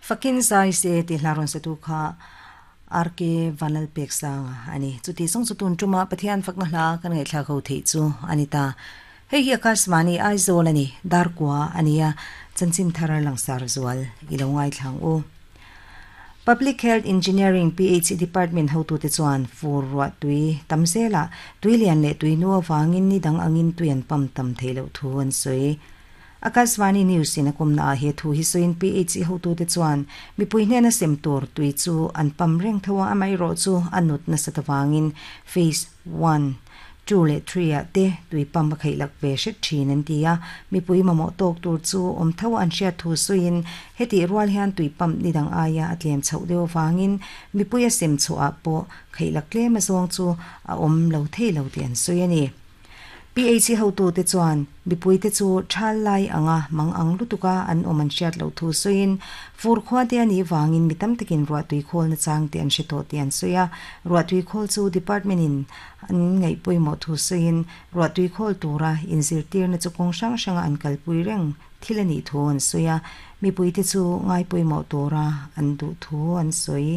Fakin zai se tih hla rawn satu kha RK Vanlalpeksanga a ni. Chuti zawng chu tun tuma Pathian fakna hla kan ngaihthlak ho theih chu a ni ta. Hei hi Akashvani Aizawl a ni, Darkua a ni a, chanchin thar langsar zual i lo ngaithlang u. Public Health Engineering, PHE, Department hotute chuan fur ruah tui tam zelah tui lian leh tui nu avangin ni dang angin tui an pump tam theih loh thu an sawi. Akashvani News in a kawmna ah he thu hi sawiin PHE hotute chuan mipui hnena sem tur tui chu an pump reng tho a, amaherawh chu a nut nasat avangin Phase One, Two leh three ah te tui pump a kheih lak ve hret thin an ti a, mipui mamawh tawk tur chu awm tho an hriat thu sawiin hetih rual hian tui pump ni dang aia a tlem chhoh deuh avangin mipui a sem chhuah ah pawh kheih lak tlem azawng chu a awm lo thei lo tih an sawi a ni. PHC hotute chuan mipuite chu thal lai anga mang ang lutuka an awm an hriat loh thu sawiin fur khua te a nih vangin mi tam takin ruahtui khawl nachang te an hre tawh tih an sawi a, ruahtui khawl chu department in An ngaih pawimawh thu sawiin ruahtui khawl tura inzirtirna chu kawng hrang hranga an kalpui reng thil a nih thu an sawi a, mipuite chu ngai pawimawh tura an duh thu an sawi.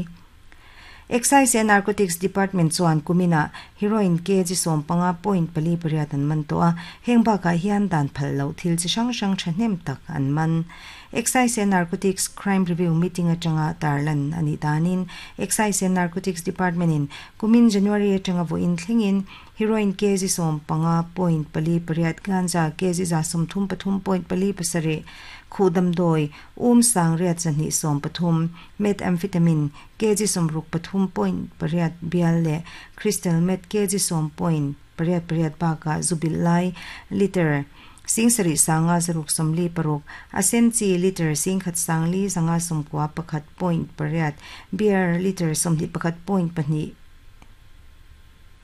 Excise and Narcotics Department chuan kuminah heroin kg 15.48 an man tawh a, heng bakah hian dan phal loh thil chi hrang hrang thahnem tak an man. Excise and Narcotics Crime Review Meeting atanga tarlan a nih danin Excise and Narcotics Department-in Kumin January atanga vawiin thlengin heroin kg 15.48, ganja kg 133.47, khuh damdawi um 1213, methamphetamine kg 63.8 bial leh crystal meth kg 10.88 bakah zu bilh lai liter 76,546, a sen chi litre 1,491.8, beer litre 21.2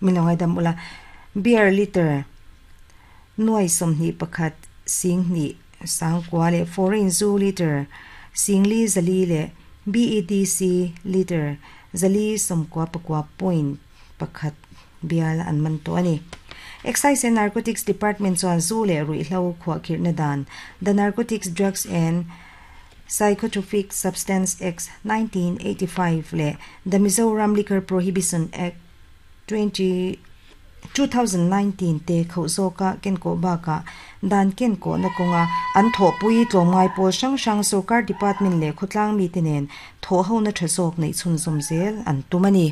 min lo ngaidam ula, beer litre 21 2 9 leh foreign zu litre 4,400 leh BEDC litre 499.1 bial an man tawh a ni. Excise and Narcotics Department chuan zu leh ruihhlo khuahkhirhna dan, The Narcotics Drugs and Psychotropic Substance Act, 1985 leh The Mizoram Liquor Prohibition Act, 2019 te khauh zawka kenkawh bakah dan kenkawhna kawnga an thawhpui tlawmngai pawl hrang hrang sorkar department leh khawtlang mite nen thawhhona tha zawk neih chhunzawm zel an tum a ni.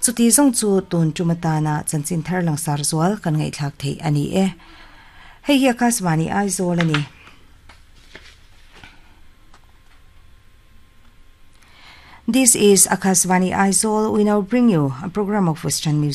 Chuti zawng chu tun tum atana chanchin thar langsar zual kan ngaihthlak theih a ni e. Hei hi Akashvani Aizawl a ni. This is Akashvani Aizawl. We now bring you a program of Western music.